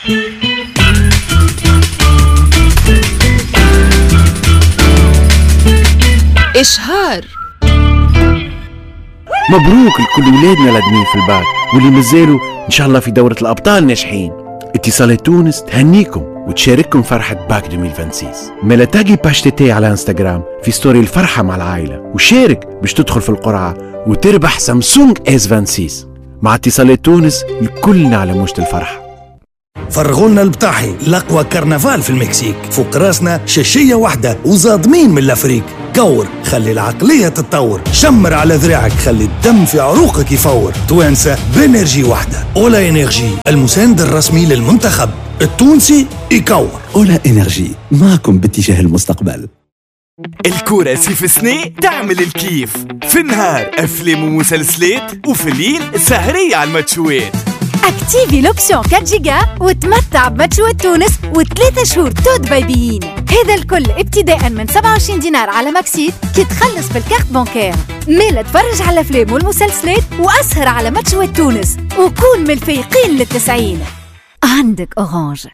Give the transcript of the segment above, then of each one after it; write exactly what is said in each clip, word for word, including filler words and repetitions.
إشهار. مبروك لكل ولادنا الادمين في الباك واللي مازالوا ان شاء الله في دورة الابطال ناجحين. اتصالات تونس تهنيكم وتشارككم فرحة باك ألفين وستة وعشرين. مالا taguer page TT على انستغرام في story الفرحة مع العائلة وشارك باش تدخل في القرعة وتربح سامسونج S ستة وعشرين. مع اتصالات تونس الكلنا على موجة الفرحة. فرغولنا البطاحي الأقوى كرنفال في المكسيك، فوق راسنا شاشية واحدة وزادمين من l'Afrique. كور خلي العقلية تتطور، شمر على ذراعك خلي الدم في عروقك يفور. توانسة ب énergie واحدة، أولا إنرجي المساند الرسمي للمنتخب التونسي يكور. أولا إنرجي معكم باتجاه المستقبل. الكورة سيف سني تعمل الكيف، في النهار أفلام ومسلسلات وفي الليل سهرية على الماتشوات. activer l'option أربعة جيجا وتمتع بماتشوات تونس وثلاثة شهور tout بايبيين. هذا الكل ابتداء من سبعة وعشرين دينار على ماكسيت كي تخلص بال carte bancaire. مالا تفرج على الافلام والمسلسلات واسهر على ماتشوات تونس وكون من الفايقين للتسعين. عندك اورانج.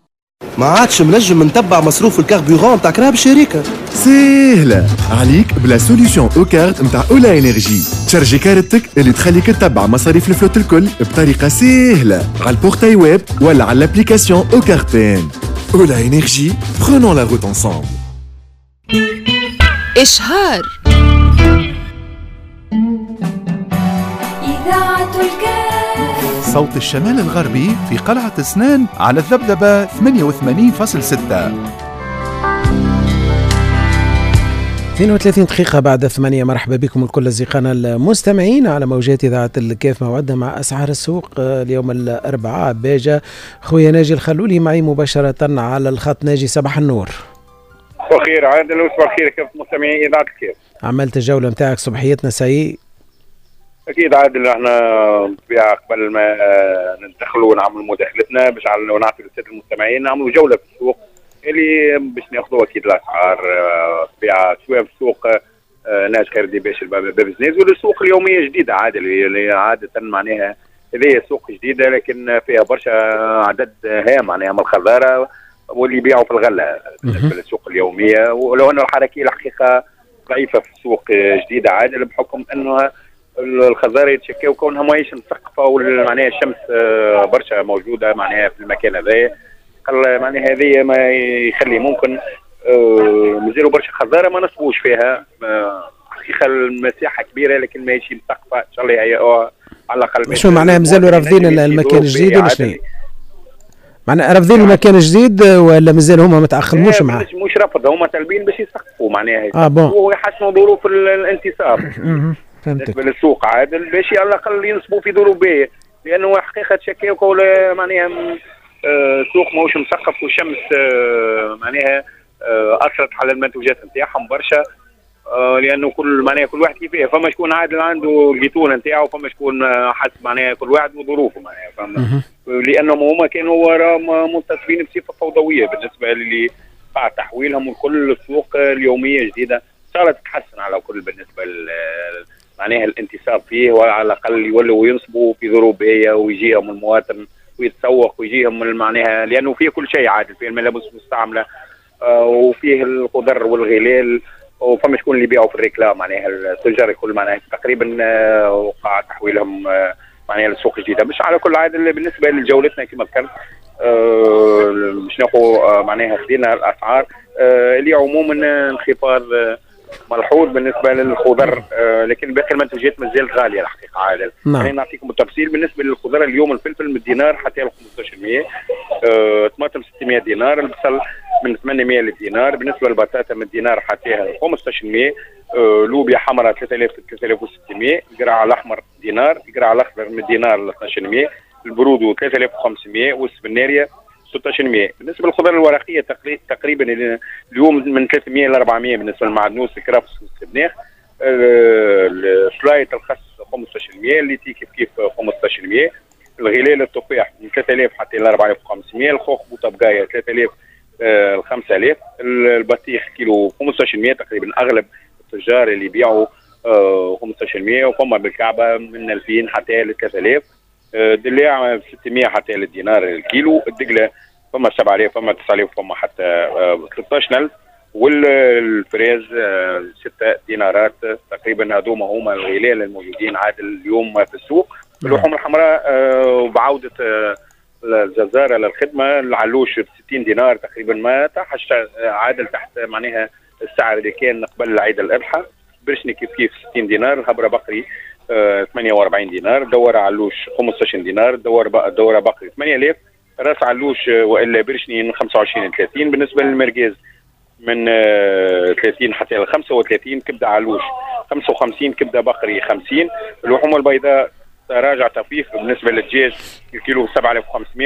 ما عادش منجم نتبع مصروف ال carburant تاع كراهب الشركة. سهلة عليك ب la solution e-carte نتاع اولا انرجي. تشارجي كارتك اللي تخليك تتبع مصاريف ال flotte الكل بطريقة سهلة على ال portail web ولا على l'application e-carte. اولا انرجي، prenons la route ensemble. اشهار. اذاعة الكاف، صوت الشمال الغربي في قلعة سنان على الذبذبة ثمانية وثمانين فاصلة ستة. اثنين وثلاثين دقيقة بعد ثمانية. مرحبا بكم الكل أصدقائنا المستمعين على موجات إذاعة الكاف. موعدنا مع أسعار السوق اليوم الأربعاء. باجة خويا ناجي الخلولي معي مباشرة على الخط. ناجي صباح النور. صباح الخير عادل وصباح الخير كيف مستمعين إذاعة الكاف. عملت الجولة نتاعك صبحيتنا سي؟ أكيد عادل، احنا بالطبيعة قبل ما ندخلوا ونعملوا مداخلتنا باش نعطي للسادة المستمعين نعملوا جولة في السوق اللي باش ناخذوا اكيد الاسعار طبيعة سواء في السوق ناج خير دي باش باب زنيز ولا السوق اليومية جديدة عادل اللي عادة معناها هذه سوق جديدة لكن فيها برشا عدد هام معناها من الخضاره واللي يبيعوا في الغلة بالنسبة للسوق اليومية، ولو انه الحركية الحقيقة ضعيفة في السوق جديدة عادل بحكم انه الخضاره يتشكاو كونها ماهيش مثقفة ومعناها الشمس برشا موجودة معناها في المكان هذايا. معناها هذه ما يخلي ممكن آه مازالوا برشا خضاره ما نصبوش فيها. حقيقة المساحة كبيرة لكن ماهيش مثقفة، ان شاء الله يهيئوها على الاقل. شو معناها مازالوا رافضين المكان الجديد ولا شنو؟ معناها رافضين المكان الجديد ولا مازال هما ما تاقلموش معاه؟ مش رفض، هما طالبين باش يثقفوا معناها اه bon ويحسنوا ظروف الانتصاب. فهمتك. بالنسبة للسوق عادل باش على الاقل ينصبوا في ظروف باهيه، لانه حقيقة تشكاو معناها السوق ماهوش مثقف والشمس معناها اثرت على المنتوجات نتاعهم برشا، لانه كل معناها كل واحد كيفاه، فما شكون عادل عنده الجيتون نتاعو، فما شكون حسب معناها كل واحد وظروفه معناها فما، لانهم هما كانوا ورا منتصبين بصفة فوضوية بالنسبة للي قاع تحويلهم وكل السوق اليومية جديدة صارت تتحسن على كل بالنسبة معناها الانتصاب فيه، وعلى الاقل يولوا ينصبوا في ظروف باهيه ويجيهم المواطن ويتسوق ويجيهم معناها، لانه فيه كل شيء عادل، فيه الملابس المستعملة آه وفيه الخضر والغلال، وفما شكون اللي يبيعوا في ال réclame معناها التجار الكل معناها تقريبا آه وقع تحويلهم آه معناها للسوق الجديدة. مش على كل عادل بالنسبة لجولتنا كما ذكرت آه مش ناخذ آه معناها خذينا الاسعار آه اللي عموما انخفاض آه ملحوظ بالنسبة للخضر آه لكن باقي المنتوجات مازالت غالية الحقيقة عادل. نعم. يعني نعطيكم التفصيل بالنسبة للخضر اليوم الفلفل من الدينار حتى ل خمسطاش مية، آه طماطم ستمية دينار، البصل من ثمانمية للدينار، بالنسبة للبطاطا من الدينار حتى خمسطاش مية، آه لوبيا حمراء ثلاثة آلاف ثلاثة آلاف وستمية، القرع الاحمر دينار، القرع الاخضر من دينار ل اثناش مية، البرودو ثلاثة آلاف وخمسمية، والسبناريه ستطاش مية. بالنسبة للخضار الورقية تقريبا اليوم من ثلاثمية ل أربعمية بالنسبة للمعدنوس الكرفس والسبناخ، السلايط الخس خمسطاش مية، الليتي كيف كيف خمسطاش مية، الغلال التفاح من ثلاثة آلاف حتى ل أربعة آلاف وخمسمية، الخوخ بوطبقايه ثلاثة آلاف ل خمسة آلاف، البطيخ كيلو خمسطاش مية تقريبا اغلب التجار اللي يبيعوا خمسطاش مية، وفما بالكعبة من ألفين حتى ل ثلاثة آلاف، الدلاع ستمية حتى للدينار الكيلو، الدقله فما سبعة آلاف، فما تسعة آلاف، فما حتى آه، ثلاثة عشر ألف، وال fraise آه، ستة دينارات تقريبا. هذوما هما الغلال الموجودين عاد اليوم في السوق. اللحوم الحمراء آه، بعودة آه، الجزارة للخدمة، العلوش ب ستين دينار تقريبا، ما تحش عادل تحت معناها السعر اللي كان قبل عيد الأضحى. برشني كيف كيف ستين دينار، الهبره بقري آه، ثمانية وأربعين دينار، دوار علوش خمسة عشر دينار، دوار دوره بقري ثمانية آلاف، راس علوش والا برشني من خمسة وعشرين ل ثلاثين. بالنسبة للمرقاز من آه، ثلاثين حتى ل خمسة وثلاثين، كبده علوش خمسة وخمسين، كبده بقري خمسين. اللحوم البيضاء تراجع طفيف بالنسبة للدجاج الكيلو سبعة آلاف وخمسمية.